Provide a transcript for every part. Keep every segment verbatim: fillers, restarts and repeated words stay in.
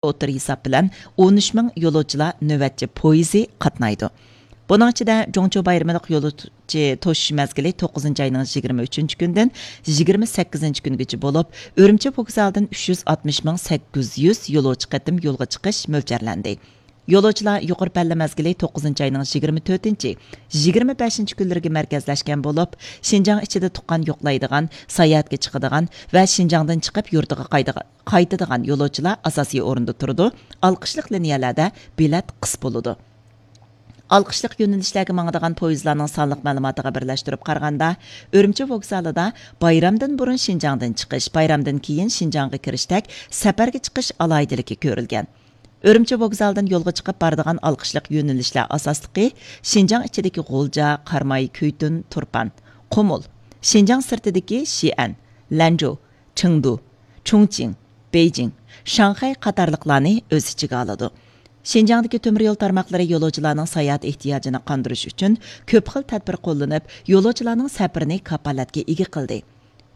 ئوتتۇرا ھېساب بىلەن ئون ئۈچ مىڭ يولۇچىلار نۆۋەتچى پويىزى قاتنايدۇ. بۇنىڭ ئىچىدە جۇڭچۇ بايرىملىق يولۇچى توشۇش مەزگىلى توققۇزىنچى ئاينىڭ يىگىرمە ئۈچىنچى كۈندىن يىگىرمە سەككىزىنچى كۈنگىچە بولۇپ، ئۈرۈمچى ۋوگزالىدىن ئۈچ يۈز ئاتمىش مىڭ سەككىز يۈز يولۇچى قېتىم يولغا چىقىش مۆلچەرلەندى. يولۇچىلار يۇقىرى پەللە مەزگىلى توققۇزىنچى ئاينىڭ يىگىرمە تۆتىنچى، يىگىرمە بەشىنچى كۈنلىرىگە مەركەزلەشكەن بولۇپ، شىنجاڭ ئىچىدە تۇغقان يوقلايدىغان، ساياھەتكە چىقىدىغان ۋە شىنجاڭدىن چىقىپ يۇرتىغا قايتىدىغان، قايتىدىغان يولۇچىلار ئاساسىي ئورۇندا تۇرىدۇ، ئالقىشلىق لىنىيەلەردە بېلەت قىس بولىدۇ. ئالقىشلىق يۆنىلىشلەرگە ماڭىدىغان پويىزلارنىڭ سانلىق مەلۇماتىغا بىرلەشتۈرۈپ قارىغاندا، ئۈرۈمچى ۋوگزالىدا بايرامدىن بۇرۇن شىنجاڭدىن چىقىش، بايرامدىن كېيىن شىنجاڭغا كىرىشتەك سەپەرگە چىقىش ئالاھىدىلىكى كۆرۈلگەن. ئۈرۈمچى ۋوگزالىدىن يولغا چىقىپ بارىدىغان ئالقىشلىق يۆنىلىشلەر ئاساسلىقى شىنجاڭ ئىچىدىكى غۇلجا، قاراماي، كۈيتۇن، تۇرپان، قۇمۇل، شىنجاڭ سىرتىدىكى شىئەن، لەنجۇ، چېڭدۇ، چۇڭچىڭ، بېيجىڭ، شاڭخەي قاتارلىقلارنى ئۆز ئىچىگە ئالىدۇ. شىنجاڭدىكى تۆمۈر يول تارماقلىرى يولۇچىلارنىڭ ساياھەت ئېھتىياجىنى قاندۇرۇش ئۈچۈن كۆپ خىل تەدبىر قوللىنىپ، يولۇچىلارنىڭ سەپىرىنى كاپالەتكە ئىگە قىلدى.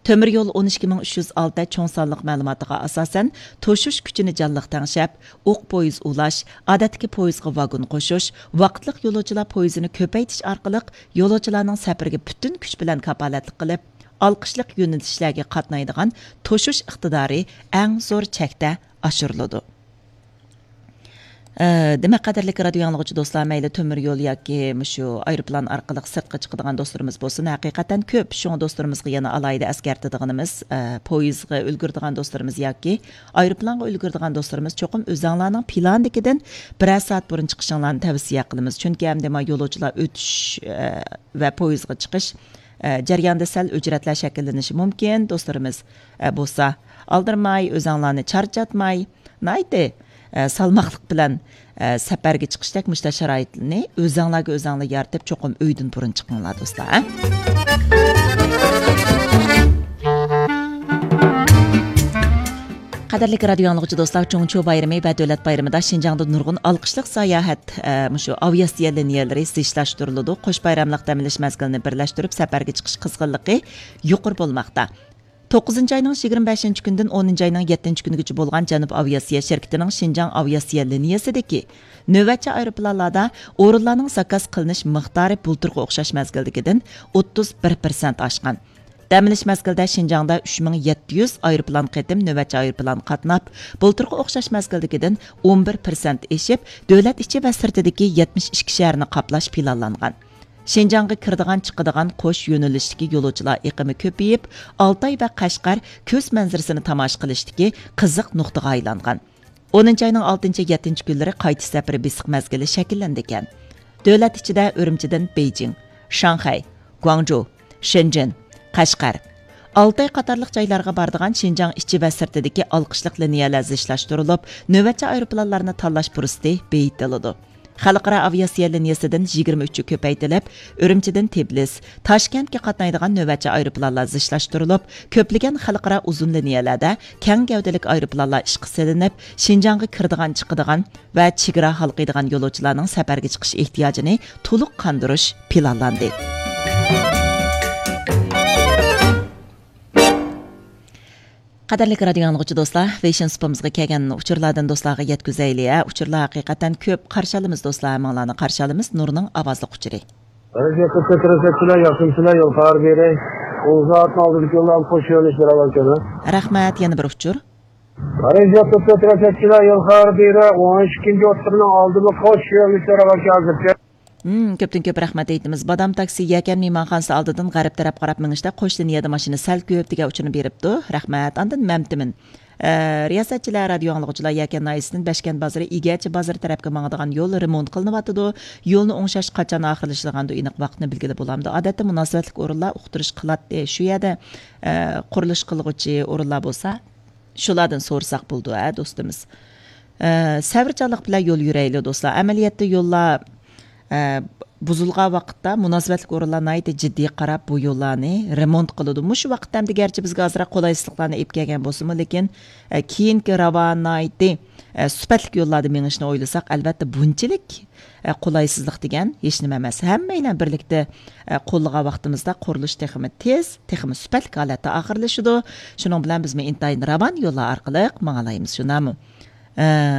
تۆمۈر يول ئون ئىككى مىڭ ئۈچ يۈز ئالتە چوڭ سانلىق مەلۇماتىغا ئاساسەن، توشۇش كۈچىنى جانلىق تەڭشەپ، ئوق پويىز ئۇلاش، ئادەتتىكى پويىزغا ۋاگون قوشۇش، ۋاقىتلىق يولۇچىلار پويىزىنى كۆپەيتىش ئارقىلىق يولۇچىلارنىڭ سەپىرىگە پۈتۈن كۈچ بىلەن كاپالەتلىك قىلىپ، ئالقىشلىق يۆنىلىشلەرگە قاتنايدىغان توشۇش ئىقتىدارى ئەڭ زور چەكتە ئاشۇرۇلىدۇ. ئە، دېمەك، قەدىرلىك رادىيو ئاڭلىغۇچى دوستلار، مەيلى تۆمۈر يول ياكى مۇشۇ ئايروپىلان ئارقىلىق سىرتقا چىقىدىغان دوستلىرىمىز بولسۇن، ھەقىقەتەن كۆپ. شۇڭا دوستلىرىمىزغا يەنە ئالاھىدە ئەسكەرتىدىغىنىمىز، ئە، پويىزغا ئۈلگۈرىدىغان دوستلىرىمىز ياكى ئايروپىلانغا ئۈلگۈرىدىغان دوستلىرىمىز چوقۇم ئۆزەڭلارنىڭ پىلانىدىكىدىن بىرەر سائەت بۇرۇن چىقىشىڭلارنى تەۋسىيە قىلىمىز. چۈنكى ئەمدى ما يولۇچىلار ئۆتۈش، ئە، ۋە پويىزغا چىقىش، ئە، جەريانىدا سەل ئۆچرەتلەر شەكىللىنىشى مۇمكىن. دوستلىرىمىز، ئە، بولسا ئالدىرىماي، ئۆزەڭلارنى چارچاتماي، ناھايىتى، ئە، سالماقلىق بىلەن، ئە، سەپەرگە چىقىشتەك مۇشۇنداق شارائىتنى ئۆزەڭلارگە ئۆزەڭلار يارىتىپ، چوقۇم ئۆيدىن بۇرۇن چىقىڭلار، دوستلار، ھە؟ قەدىرلىك رادىيو ئاڭلىغۇچى دوستلار، چۇڭچۇ بايرىمى ۋە دۆلەت بايرىمىدا شىنجاڭدا نۇرغۇن ئالقىشلىق ساياھەت، ئە، مۇشۇ ئاۋىئاتسىيە لىنىيەلىرى زىچلاشتۇرۇلىدۇ. قوش بايراملىق دەم ئېلىش مەزگىلىنى بىرلەشتۈرۈپ، سەپەرگە چىقىش قىزغىنلىقى يۇقىرى بولماقتا. توققۇزىنچى ئاينىڭ يىگىرمە بەشىنچى كۈنىدىن ئونىنچى ئاينىڭ يەتتىنچى كۈنىگىچە بولغان جەنۇب ئاۋىئاتسىيە شىركىتىنىڭ شىنجاڭ ئاۋىئاتسىيە لىنىيەسىدىكى نۆۋەتچى ئايروپىلانلاردا ئورۇنلارنىڭ زاكاز قىلىنىش مىقدارى بۇلتۇرغا ئوخشاش مەزگىلدىكىدىن ئوتتۇز بىر پىرسەنت ئاشقان. دەم ئېلىش مەزگىلىدە شىنجاڭدا ئۈچ مىڭ يەتتە يۈز ئايروپىلان قېتىم نۆۋەتچى ئايروپىلان قاتناپ، بۇلتۇرقى ئوخشاش مەزگىلدىكىدىن ئون بىر پىرسەنت ئېشىپ، دۆلەت ئىچى ۋە سىرتىدىكى يەتمىش ئىككى شەھەرنى قاپلاش پىلانلانغان. شىنجاڭغا كىرىدىغان، چىقىدىغان قوش يۆنىلىشتىكى يولۇچىلار ئېقىمى كۆپىيىپ، ئالتاي ۋە قەشقەر كۆز مەنزىرىسىنى تاماشا قىلىشتىكى قىزىق نۇقتىغا ئايلانغان. ئونىنچى ئاينىڭ ئالتىنچى، يەتتىنچى كۈنلىرى قايتىش سەپىرى بېسىق مەزگىلى شەكىللىنىدىكەن. دۆلەت ئىچىدە ئۈرۈمچىدىن بېيجىڭ، شاڭخەي، گۇاڭجۇ، شېنجېن، قەشقەر، ئالتاي قاتارلىق جايلارغا بارىدىغان شىنجاڭ ئىچى ۋە سىرتىدىكى ئالقىشلىق لىنىيەلەر زىچلاشتۇرۇلۇپ، نۆۋەتچى ئايروپىلانلارنى تاللاش پۇرسىتى بېيىتىلىدۇ. خەلقئارا ئاۋىئاتسىيە لىنىيەسىدىن يىگىرمە ئۈچى كۆپەيتىلىپ، ئۈرۈمچىدىن تبىلىس، تاشكەنتكە قاتنايدىغان نۆۋەتچى ئايروپىلانلار زىچلاشتۇرۇلۇپ، كۆپلىگەن خەلقئارا ئۇزۇن لىنىيەلەردە كەڭ گەۋدىلىك ئايروپىلانلار ئىشقا سېلىنىپ، شىنجاڭغا كىرىدىغان، چىقىدىغان ۋە چېگرا ھالقىيدىغان يولۇچىلارنىڭ سەپەرگە چىقىش ئېھتىياجىنى تولۇق قاندۇرۇش پىلانلاندى. قەدىرلىك رادىيو ئاڭلىغۇچى دوستلار، ۋېيشىن سۇپىمىزغا كەلگەن ئۇچۇرلاردىن دوستلارغا يەتكۈزەيلى. ئە، ئۇچۇرلار ھەقىقەتەن كۆپ. قارشى ئالىمىز دوستلار، ھەممىڭلارنى قارشى ئالىمىز. نۇرنىڭ ئاۋازلىق ئۇچۇرى. رەجەپ تۆت رەسەتچىلەر، ياخشىمۇسىلەر؟ يول خەۋەر بېرەي. ئۇزاتما ئالدىدىكى يوللار قوش يۆنىلىشلەر ئەۋەلكەن. رەھمەت، يەنە بىر ئۇچۇر. رەجەپ تۆت رەسەتچىلەر، يول خەۋەر بېرەي. ئون ئىككىنچى ئوتتۇرىنىڭ ئالدىمۇ قوش يۆنىلىشلەر ئەۋەلكەن ھازىرچە. مم، كۆپتىن كۆپ رەھمەت ئېيتىمىز. بادام تاكسى يەكەن مېھمانخانىسى ئالدىدىن غەرب تەرەپ قاراپ مېڭىشتا قوش لىنىيەدە ماشىنا سەل كۆپ دېگەن ئۇچۇرنى بېرىپتۇ. رەھمەت. ئاندىن مەمتىمىن. ئە، رىياسەتچىلەر، رادىيو ئاڭلىغۇچىلار، يەكەن ناھىيەسىدىن بەشكەنت بازىرى، ئىگەچى بازىرى تەرەپكە ماڭىدىغان يول رېمونت قىلىنىۋاتىدۇ. يولنى ئوڭشاش قاچان ئاخىرلىشىدىغاندۇ، ئېنىق ۋاقىتنى بىلگىلى بولامدۇ؟ ئادەتتە مۇناسىۋەتلىك ئورۇنلار ئۇقتۇرۇش قىلاتتى. شۇ يەردە، ئە، قۇرۇلۇش قىلغۇچى ئورۇنلار بولسا، شۇلاردىن سورىساق بولىدۇ، ھە، دوستىمىز. ئە، سەۋرچانلىق بىلەن يول يۈرەيلى، دوستلار. ئەمەلىيەتتە يوللار، ئە، بۇزۇلغان ۋاقىتتا مۇناسىۋەتلىك ئورۇنلار ناھايىتى جىددىي قاراپ، بۇ يوللارنى رېمونت قىلىدۇ. مۇشۇ ۋاقىتتا ئەمدى گەرچە بىزگە ئازراق قولايسىزلىقلارنى ئېلىپ كەلگەن بولسىمۇ، لېكىن، ئە، كېيىنكى راۋان ناھايىتى، ئە، سۈپەتلىك يوللاردا مېڭىشنى ئويلىساق، ئەلۋەتتە، بۇنچىلىك، ئە، قولايسىزلىق دېگەن ھېچنېمە ئەمەس. ھەممەيلەن بىرلىكتە، ئە، قوللىغان ۋاقتىمىزدا قۇرۇلۇش تېخىمۇ تېز، تېخىمۇ سۈپەتلىك ھالەتتە ئاخىرلىشىدۇ. شۇنىڭ بىلەن بىزمۇ ئىنتايىن راۋان يوللار ئارقىلىق ماڭالايمىز، شۇنداقمۇ؟ ئە،